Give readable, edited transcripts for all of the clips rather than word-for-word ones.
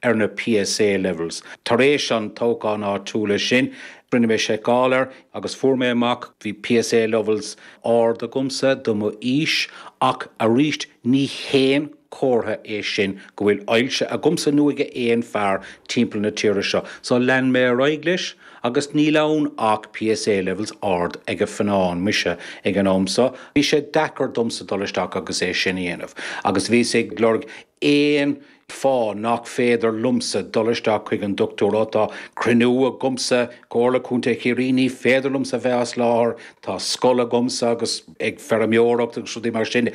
ar na PSA levels. Tar éis an toghcháin áitiúla sin, rinne mé seiceáil air agus fuair mé amach bhí PSA levels ard agamsa do mo aois ach arís ní haon chomhartha é sin go bhfuil ailse agamsa nó ag aon fear timpeall na tíre seo. So lean mé ar aghaidh leis agus níl ann ach PSA levels ard ag Fionán, mise, ag an am so. Bhí sé deacair domsa dul isteach agus é sin a dhéanamh agus bhíos ag lorg aon fáth nach féidir liomsa dul isteach chuig an dochtúir. Ó tá cruinniú agamsa, Comhairle Contae Chiarraí, ní féidir liomsa bheith as láthair, tá scoil agamsa agus ag feirmeoireacht agus rudaí mar sin.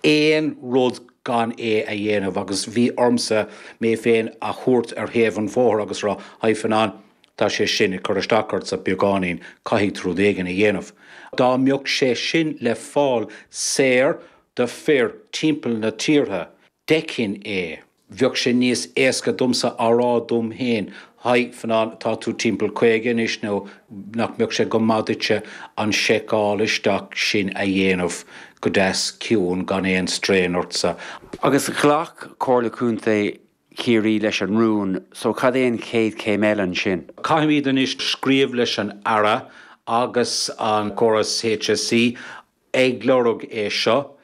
Aon rud gan é a dhéanamh agus bhí ormsa mé féin a thabhairt ar thaobh an bhóthair agus rá, Haigh Fionán, tá sé sin ag cur isteach ortsa beagáinín, caithfidh tú rud éigin a dhéanamh. Dá mbeadh sé sin le fáil saor do fir timpeall na tíortha, d'fheicfinn é. Bheadh sé níos éasca domsa a rá dom féin, Haigh, Fionán, tá tú timpeall 50 anois nó nach mbeadh sé go maith duitse an seiceáil isteach sin a dhéanamh go deas ciúin gan aon strain ortsa. Agus ghlac Comhairle Contae Chiarraí leis an rún, so cad é an chéad chéim eile ansin? Caithfimid anois scríobh leis an Aire agus an córas HSE ag lorg é seo.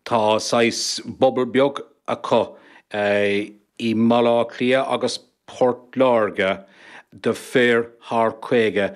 Tá saghas bubble beag acu i mBaile Átha Cliath agus Port Láirge do fir thar 50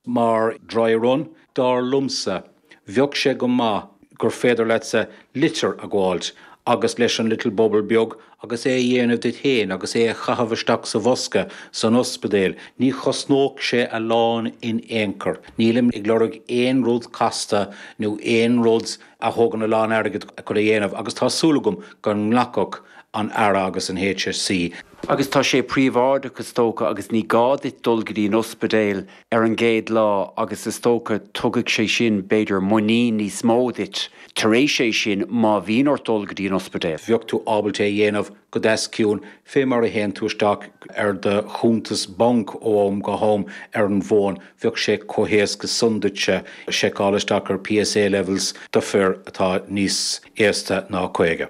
mar dry run. Dar liomsa, bheadh sé go maith gur féidir leatsa litir a ghabháilt agus leis an little bubble beag agus é a dhéanamh duit féin agus é a chaitheamh isteach sa bhosca san ospidéal. Ní chosnódh sé a lán in aon chor. Nílim ag lorg aon rud casta nó aon rud a thógann a lán airgid chun a dhéanamh agus tá súil agam go nglacfadh an Aire agus an HSE. Agus tá sé príobháideach is dócha agus ní gá duit dul go dtí an ospidéal ar an gcéad lá agus is dócha tugadh sé sin b'fhéidir muinín níos mó duit tar éis é sin má bhíonn ort dul go dtí an ospidéal. Bheadh tú ábalta é a dhéanamh go deas ciúin fé mar a théann tú isteach ar do chuntas banc ó am go ham ar an bhfón, bheadh sé chomh héasca san duitse seiceáil isteach ar PSA levels do fir atá níos aosta ná 50.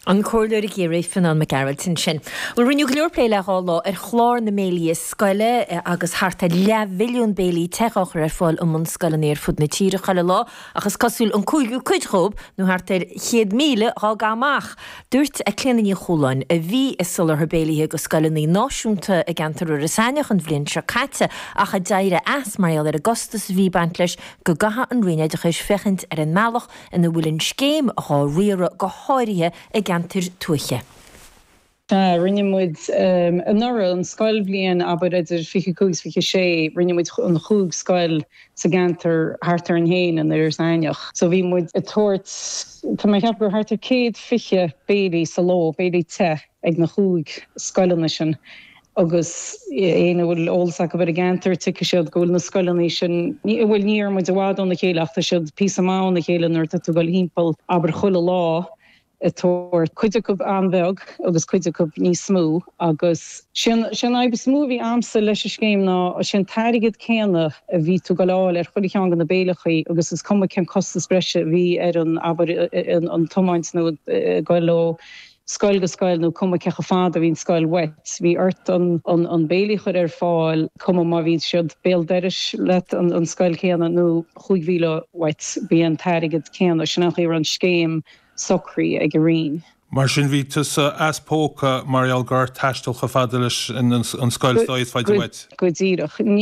An Comhairleoir i gCiarraí, Fionán Mac Gearailt ansin. Bhuel, rinneadh go leor plé le dhá lá ar chlár na mbéilí scoile agus thart ar leathmhilliún béilí te á chur ar fáil i mbunscoileanna ar fud na tíre chuile lá ach is cosúil an cúigiú cuid dhóibh, nó thart ar 100,000, dhá gcaitheamh amach. Dúirt Clíona Ní Chualáin, a bhí ag soláthar béilithe go scoileanna náisiúnta i gceantar Iorras Aithneach an bhliain seo caite ach a d'éirigh as mar gheall ar an gcostas a bhí ag baint leis, go gcaithfidh an Roinn Oideachais féachaint ar an mbealach ina bhfuil an scéim dhá riaradh, go háirithe i gceantair tuaithe. Sea, rinne muid anuraidh, an scoilbhliain, abair, idir 25 is 26, rinne muid an chúig scoil sa gceantar thart orainn féin in Iorras Aithneach. So bhí muid ag tabhairt, tá mé ag ceapadh gur thart ar 120 béilí sa ló, béilí te ag na chúig scoileanna sin agus éinne a bhfuil eolas acu ar an gceantar, tuigfidh siad go bhfuil na scoileanna sin, bhuel ní raibh muid i bhfad óna chéile ach tá siad píosa maith óna chéile nuair atá tú ag dul thimpeall, abair, chuile lá ag tabhairt, cuid acu an-bheag agus cuid acu níos mó agus sé an fhadhb is mó a bhí a'msa leis an scéim ná sé an t-airgead céanna a bhí tú ag dul a fháil ar chuile cheann de na béileachaí agus is cuma cén costas breise a bhí ar an, abair, an tiomáint nó ag dul ó scoil go scoil nó cuma cé chomh fada a bhí an scoil uait, bhí ort an an béilí a chur ar fáil, cuma má bhí siad béal dorais leat an scoil chéanna nó chúig mhíle uait, bhí an t-airgead céanna. Sin an chaoi a raibh an scéim socraithe ag an Roinn. Mar sin bhí tusa as póca mar gheall go raibh ort taisteal chomh fada leis an scoil is dá fhaide uait. Go díreach. An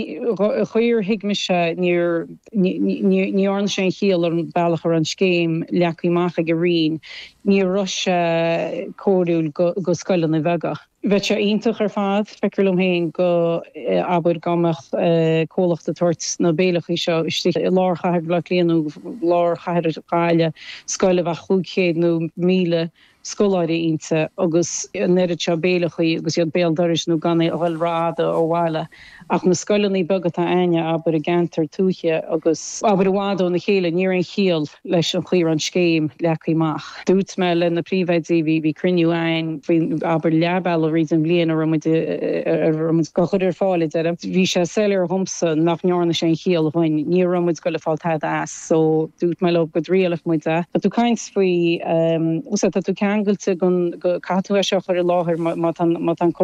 chaoi ar thuig mise níor ní dhearna sé aon chiall ar an bealach a raibh an scéim leagtha amach ag an Roinn. Ní raibh sé cóiriúil go scoileanna beaga. Bheadh sé iontach ar fad, feictear liom féin, go, abair, dá mbeadh comhlacht ag tabhairt na béileachaí seo istigh i lár chathair Bhaile Átha Cliath nó lár chathair Ghaillimh, scoil a bheadh 500 nó 1,000 scoláire inti agus an oiread seo béileachaí agus iad béal dorais nó gan a dhul rófhada ó bhaile. Ach na scoileanna beaga atá a'inne, abair, i gceantair tuaithe agus, abair, i bhfad óna chéile, ní raibh aon chiall leis an chaoi a raibh an scéim leagtha amach. Dúirt mé le na príomhoidí, bhí, bhí cruinniú a'inn faoi, abair, leath bealaigh thríd an bhliain a raibh muid, a raibh muid á chur ar fáil, a deirim. Bhí sé soiléir dhomsa nach ndearna sé aon chiall dhuinn. Ní raibh muid ag goil ag fáil tada as. So, dúirt mé leo go dtriailfeadh muid é. Tá tú ag caint faoi, tá tú ceangailte go, caithfidh tú é seo a chur i láthair má tá, má tá an.